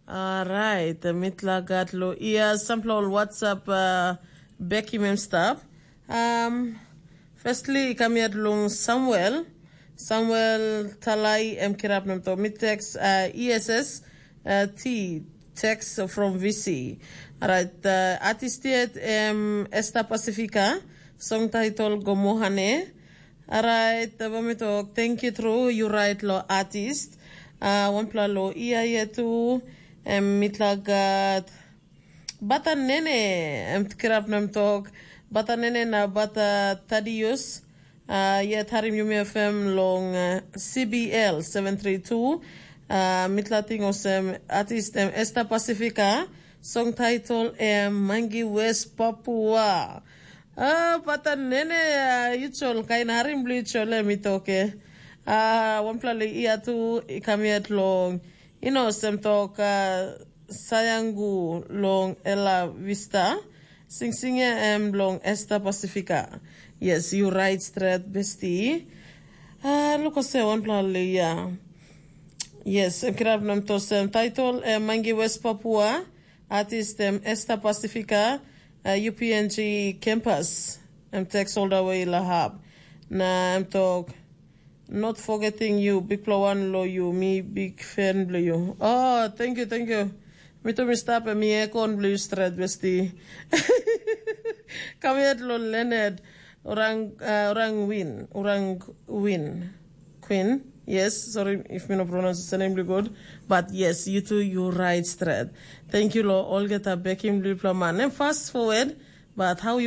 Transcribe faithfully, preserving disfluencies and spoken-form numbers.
Orait, mitla gat lo ia sampla ol WhatsApp uh, bekim em stap. Um, firstly, i kam yet long Samuel. Samuel Talai em kirap nem to. Mi text uh, E S S uh, T text from V C. Alright, uh, artist yet em Esta Pacifica. Song title Gomohane. Alright, ba mi tok, thank you tru, you right lo artist. Uh, wanpela lo ia ia tu, em mitla gat Bata Nene, em kirap nem tok, Bata Nene na Bata Tadius, uh, yet harim yumi F M long uh, C B L seven three two, uh, mitla ting osem artist em Esta Pacifica, song title em Mangi West Papua. Ah, Bata Nene, uh, yuchol, kain harim blu yuchol em i toke. Ah, wanpela li ia tu i kam yet long, you know, sem tok uh, Sayangu long Ela Vista. Sing sing em long Esta Pacifica. Yes, you right straight, bestie. Ah, look ose wanpela li ia. Yes, em kirap nem to sem title em Mangi West Papua. Artist em Esta Pacifica, uh, U P N G campus. Em text all the way Lahab. Na em tok, not forgetting you, bikpela wan lo you, mi big fan blo you. Oh, thank you, thank you. Mi tu mi stap em mi ekon blo you stret besti. Kam yet lo Leonard, orang, uh, orang win, orang win. Queen. Yes, sorry if mi no pronounce the name good, but yes, you too, you right straight. Thank you lo olgeta bekim bipla man. And fast forward, but how you